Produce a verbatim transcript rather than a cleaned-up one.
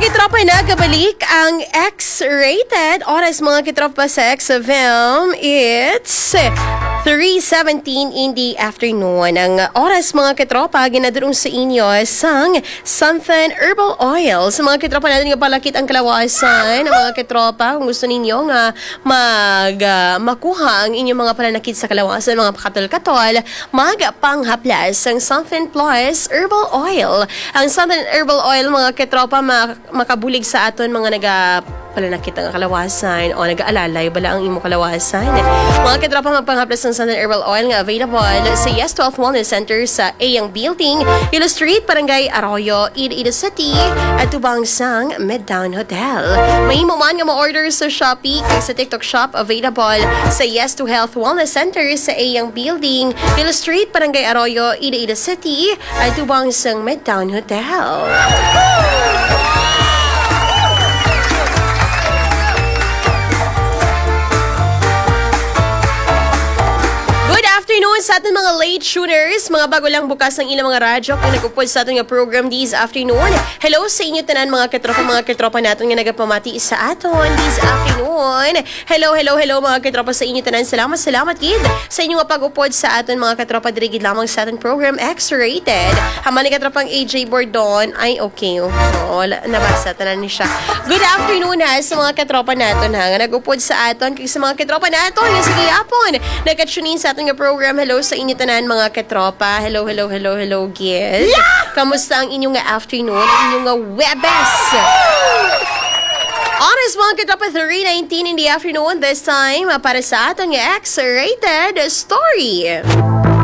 Kitropa, nagabalik ang X-Rated. Oras, mga kitropa, sa X F M, it's three seventeen in the afternoon. Ang oras, mga kitropa, ginadulong sa inyo sang Something Herbal Oil. Sa mga kitropa naton nga palakit ang kalawasan, mga kitropa, kung gusto ninyo nga mag, ah, makuha ang inyong mga pananakit sa kalawasan, mga pakatol-katol, magpanghaplas sang Something Plus Herbal Oil. Ang Something Herbal Oil, mga kitropa, ma- makabulig sa aton mga naga- pananakit ang kalawasan o nag-aalalay bala ang imo kalawasan. Mga kitropa, magpanghaplas sang Something Herbal Oil nga available sa Yes to Health Wellness Center sa Ayang Building, Hill Street, Barangay Arroyo, Iloilo City, atubang sang Midtown Hotel. Mahimo man nga ma-order sa Shopee kag sa TikTok Shop, available sa Yes to Health Wellness Center sa Ayang Building, Hill Street, Barangay Arroyo, Iloilo City, atubang sang Midtown Hotel. Good afternoon sa aton mga late tuners, mga bago lang bukas ang ilang mga radyo kung nag-upod sa aton nga program this afternoon. Hello sa inyo tanan, mga katropa, mga katropa naton nga nagapamati sa aton this afternoon. Hello, hello, hello, mga katropa, sa inyo tanan. Salamat, salamat gid sa inyo nga pag-upod sa aton, mga katropa, diri gid lamang sa aton program X-Rated. Hambal ni katropang A J Bordon, ay, okay. Oo, la- nabasa tanan ni siya. Good afternoon, ha, sa mga katropa naton, ha, nga nag-upod sa aton, kag sa mga katropa naton nga sige yapon nagka-tune in sa aton nga program. Hello sa inyo tanan, mga katropa. Hello, hello, hello, hello, gid. Kamusta ang inyong nga afternoon, ang inyong nga Webes? Oras, mga katropa, three nineteen in the afternoon. This time, ah, para sa aton nga X-Rated Story.